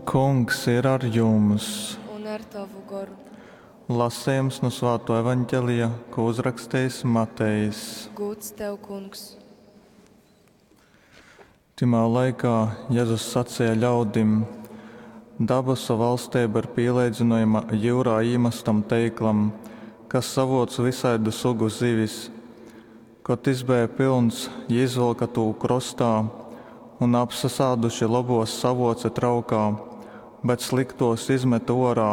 Kungs ir ar jums! Un ar tovu goru. Lasejums nu Svātō Evangelija, kū uzrakstejis Matejs. Gūds tev, Kungs! Tymā laikā Jezus saceja ļaudim, Dabasu vaļsteiba ir pīleidzynojama jyurā īmastam teiklam, kas savōc vysaidu sugu zivis. Kod tys beja pylns, jī izvylka tū krostā un, apsasāduši, lobōs savōce traukā, bet slyktōs izmete ōrā.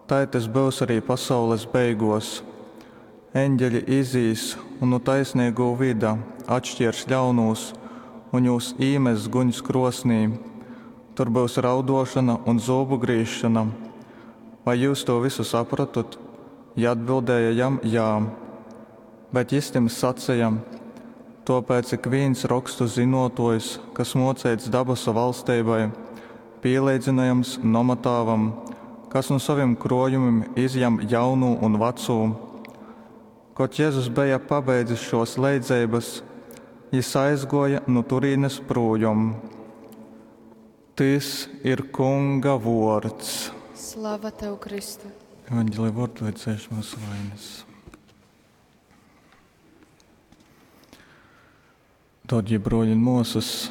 Tai tys byus ari pasaules beigōs. Eņgeļi izīs un nu taisneigū vyda atškērs ļaunūs un jūs īmess guņs krōsnī. Tur byus raudōšona un zūbu grīzšona. Vai jyus tū vysu saprotot? Jī atbildēja jam, Jā. Bet jys tim saceja, Tōpēc ikvīns Rokstu zynōtōjs, kas mōceits dabasu vaļsteibai, pīleidzynojams nomatāvam, kas nu sovim krōjumim izjam jaunū un vacū. Kod Jezus beja pabeidzis šōs leidzeibas, jys aizgōja nu turīnes prūjom. Tys ir Kunga vōrds. Slava tev, Kristu! Evangelija vōrdu, lai dzēš mūsu vainas. Dārgie broļi un māsas,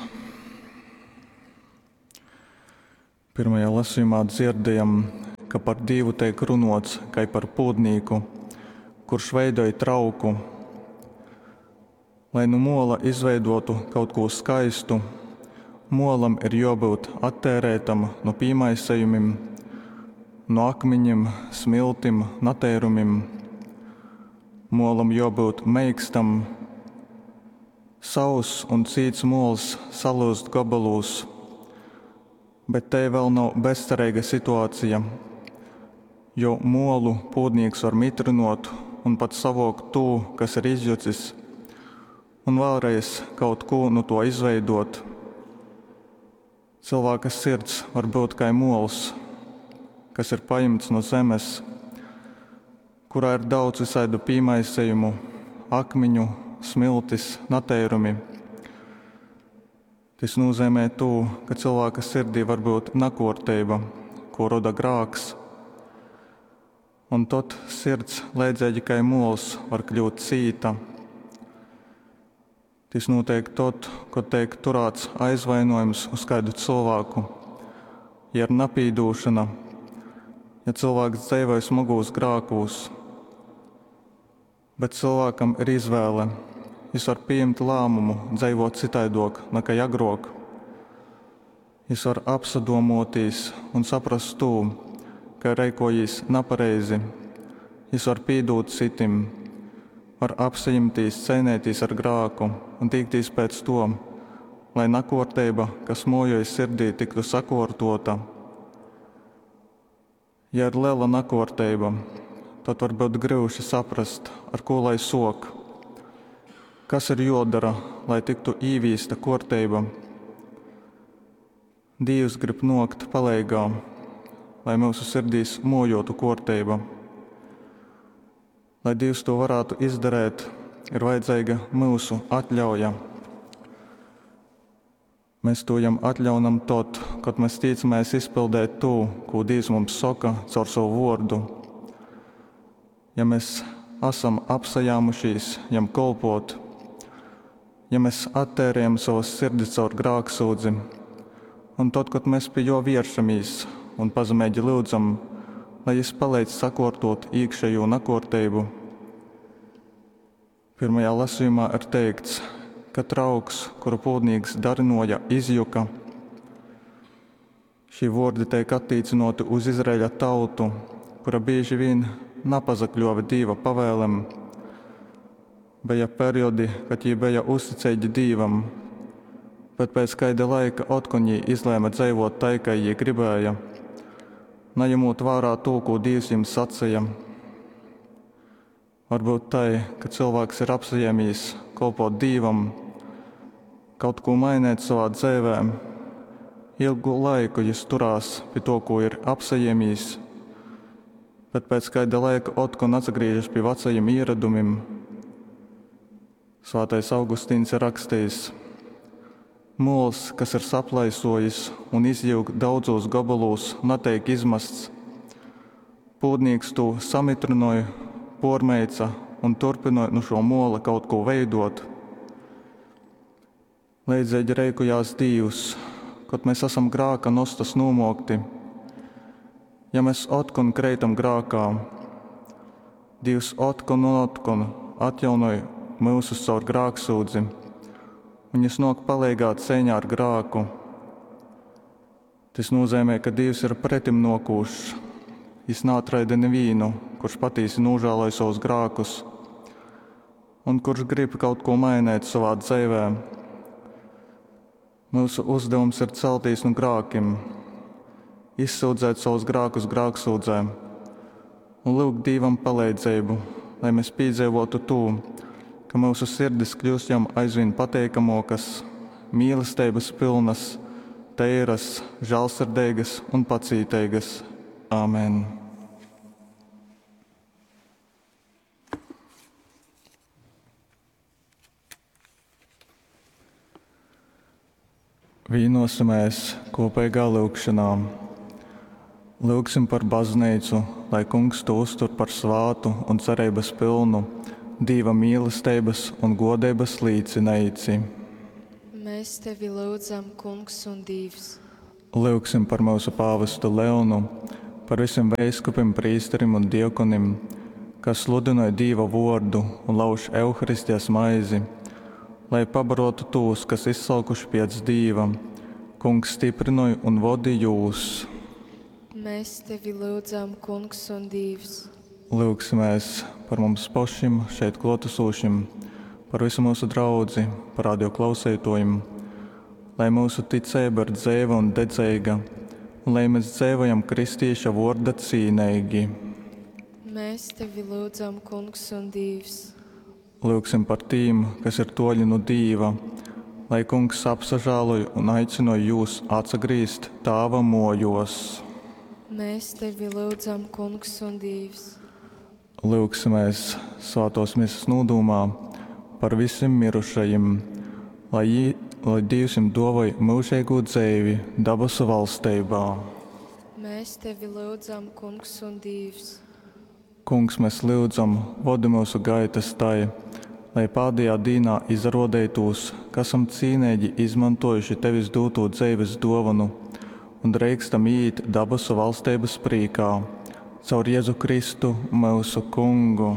pirmajā lasījumā dzirdējam, ka par Dievu tiek runots kai par pūdnīku, kurš veidoj trauku. Lai nu muola izveidotu kaut ko skaistu, muolam ir jābūt attērētam no pīmaisējumiem, no akmeņiem, smiltim, nateirumim. Muolam jābūt meikstam. Sauss un cīts muols salyuzt gobolūs, bet tei vēl nav bezcereiga situācija, jo muolu pūdnīks var mitrinot un pat savuokt tū, kas ir izjucis, un vēlreiz kaut ko no to izveidot. Cilvēka sirds var būt kai muols, kas ir paimts no zemes, kurā ir daudz visaidu pīmaisejumu, akmiņu, smiltis, nateirumi. Tys nozīmē to, ka cilvēka sirdī var būt nakorteiba, ko roda grāks. Un tad sirds, leidzīgi kai muols, var kļūt cīta. Tys notiek tad, kad tiek turēts aizvainojums uz kādu cilvēku, ja ir napīdūšana, ja cilvēks dzīvoja smagūs grākūs. Bet cilvēkam ir izvēle. Jis var pieņemt lēmumu dzīvot citaidok nekā agrāk. Jis var apsadomotīs un saprast to, ka ir reikojīs nepareizi. Jis var pīdūt citim, var apsajimtīs cīnīties ar grāku un tīkties pēc to, lai nakorteiba, kas mojoja sirdī, tiktu sakortota. Ja ir liela nakorteiba, tad var būt grūti saprast, ar ko lai sok. Kas ir jodara, lai tiktu īvīsta korteiba? Dievs grib nokt paleigā, lai mūsu sirdīs mojotu korteiba. Lai Dievs to varētu izdarīt, ir vajadzīga mūsu atļauja. Mēs to jam atļaunam tad, kad mēs ticamies izpildīt to, ko Dievs mums saka caur savu vārdu. Ja mēs esam apsajāmušies jam kolpot, ja mēs attērējam savas sirdis caur grāksūdzi, un tad, kad mēs pie jo vēršamies un pazemīgi lūdzam, lai jis palīdz sakortot iekšējo nakorteibu. Pirmajā lasījumā ir teikts, ka trauks, kuru pūdnīgs darinoja, izjuka. Šī vārdi tiek attīcinoti uz Izraēļa tautu, kura bieži vien napazakļuva Dieva pavēlēm. Bija periodi, kad jī bija uzticīgi Dievam, bet pēc kaida laika otkon jī izlēma dzīvot tai, kā jī gribēja, neņemot vērā to, ko Dievs jiem sacīja. Varbūt tai, ka cilvēks ir apsajēmies kolpot Dievam, kaut ko mainīt savā dzīvē. Ilgu laiku jis turās pie to, ko ir apsajēmies, bet pēc kāda laika otkon atgriežas pie vecajiem ieradumiem. Svētais Augustīns ir rakstījis: Muols, kas ir saplaisuojis un izjyuk daudzūs gobolūs, nateik izmasts. Pūdnīks tū samytrynoj, puormeica un turpynoj nu šuo muola kaut kū veiduot. Leidzeigi reikojās Dīvs, kod mes asam grāka nostas nūmōkti. Ja mes otkon kreitam grākā, Dīvs otkon un otkon atjaunoj myusus caur grāksyudzi, un Jys nōk paleigā ceiņā ar grāku. Tys nūzeimej, ka Dīvs ir pretimnōkūšs. Jys naatraida nivīnu, kurš patīsi nūžāloj sovus grākus un kurš grib kaut kū mainēt sovā dzeivē. Myusu uzdevums ir celtīs nu grākim, izsyudzēt savus grākus grāksūdzē un lyugt Dīvam paleidzeibu, lai mes pīdzeivōtu tū, ka myusu sirdis kļyust Jam aizvīn pateikamōkas, mīlesteibas pylnas, teiras, žālsirdeigas un pacīteigas. Amen. Vīnosimēs kopīgā lyugšanā. Lyugsim par baznīcu, lai Kungs tū uztur par svātu un cereibas pylnu, Dīva mīlesteibas un godeibas līcineici. Mēs tevi lūdzam, Kungs un Dīvs. Lyugsim par myusu pāvestu Leonu, par visiem veiskupim, prīsterim un diakonim, kas sludynoj Dīva vuordu un lauž Euharistijas maizi, lai pabarotu tūs, kas izsalkuši piec Dīva. Kungs styprynoj un vodi jūs. Mēs tevi lūdzam, Kungs un Dīvs. Lyugsimēs par mums pašim šeit klōtasūšim, par visu myusu draudzi, par radio klauseitōjim, lai myusu ticeiba ir dzeiva un dedzeiga, un lai mēs dzeivojam kristīša vorda cīneigi. Mēs tevi lūdzam, Kungs un Dīvs. Lyugsim par tīm, kas ir toļi nu Dīva, lai Kungs apsažāloj un aicynoj jūs atsagrīzt Tāva mojos. Mēs tevi lūdzam, Kungs un Dīvs. Lyugsimēs svātōs misas nūdūmā par visim mirušajim, lai, jī, lai Dīvs jim dōvoj myužeigū dzeivi dabasu valsteibā. Mēs tevi lūdzam, Kungs un Dīvs. Kungs, mēs lyudzam, vodi myusu gaitas tai, lai pādejā dīnā izarōdeitūs, ka asam cīneigi izmontōjuši Tevis dūtū dzeives dōvonu un dreikstam īīt dabasu valsteibas prīkā. Caur Jezu Kristu, myusu Kungu.